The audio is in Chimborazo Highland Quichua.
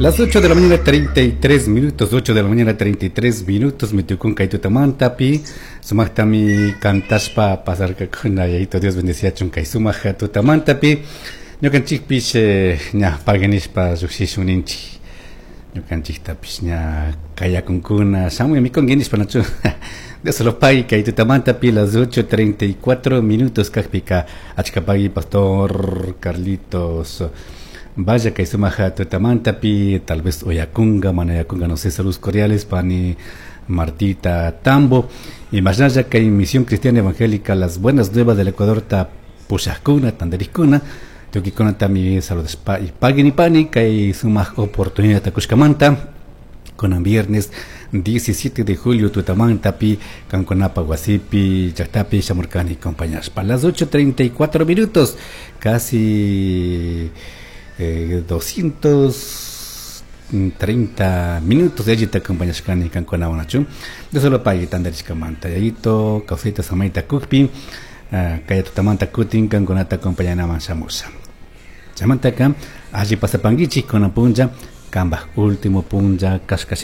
Las 8 de la mañana 33 minutos, 8 de la mañana 33 minutos, mi tukun kay tutamantapi, sumaqtami kantashpa pasarkakuna, yayito Dios bendeciachun kay sumaq tutamantapi, ñukanchikpish ña paganishpa lluqshishun ninchik, ñukanchiktapish ña kayakunkuna, shamuy mikunki nishpa nachu, Dios lo pague kay tutamantapi las 8:34 minutos kaqpika, achka pagui pastor Carlitos. Vaya kay sumaq tutamantapi, tal vez uyakunga, mana uyakunga, no sé, saludos cordiales, pani Martita Tambo, y más allá kay Misión Cristiana Evangélica, las buenas nuevas del Ecuador, ta pushaqkuna, tantarikuna, tukuykuna saludos pa y paguen y pani, kay sumaq oportunidad kushkamanta, kunan viernes 17 de julio tutamantapi, kankunapa wasipi, llaqtapi shamurkani acompañashpa. Las 8:34 minutos, casi 230 minutos de allí te acompañashkani kankunawan nachu. De solo pagui tantarishkamanta, yayito, kawsayta samayta kukpi, kay tutamanta kutin kankunata acompañanaman shamusha. Chaymantaka alli pasapankichik kunan punlla, kambaj último punlla kashka.